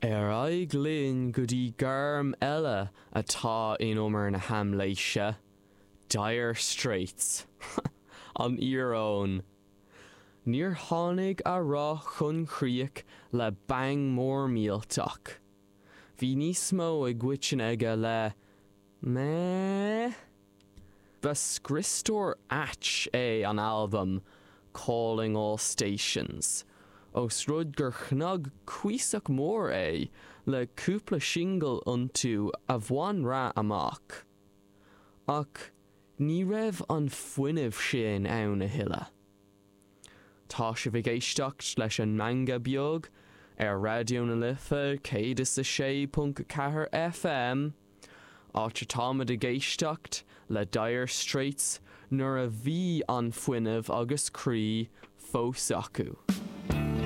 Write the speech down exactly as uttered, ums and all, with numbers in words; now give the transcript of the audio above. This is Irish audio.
Ar aghaidh linn go dtí gairm eile atá in umar na haimléise, Dire Straits. An íoróin. Níor tháinig a rath chun críche le bang mór millteach. Bhí níos mó i gcoiteann aige le meh? Ba scriostóir ait é an albam Calling All Stations, ós rud gur chnag cuíosach mór é le cúpla singil iontu a bhain rath amach. Ach ní raibh an fuinneamh sin ann a thuilleadh. Tá sibh ag éisteacht leis an Meangadh Beag ar Raidió na Life céad is a sé ponc ceathair FM, áit atáimid ag éisteacht le Dire Straits nuair a bhí an fuinneamh agus croí fós acu.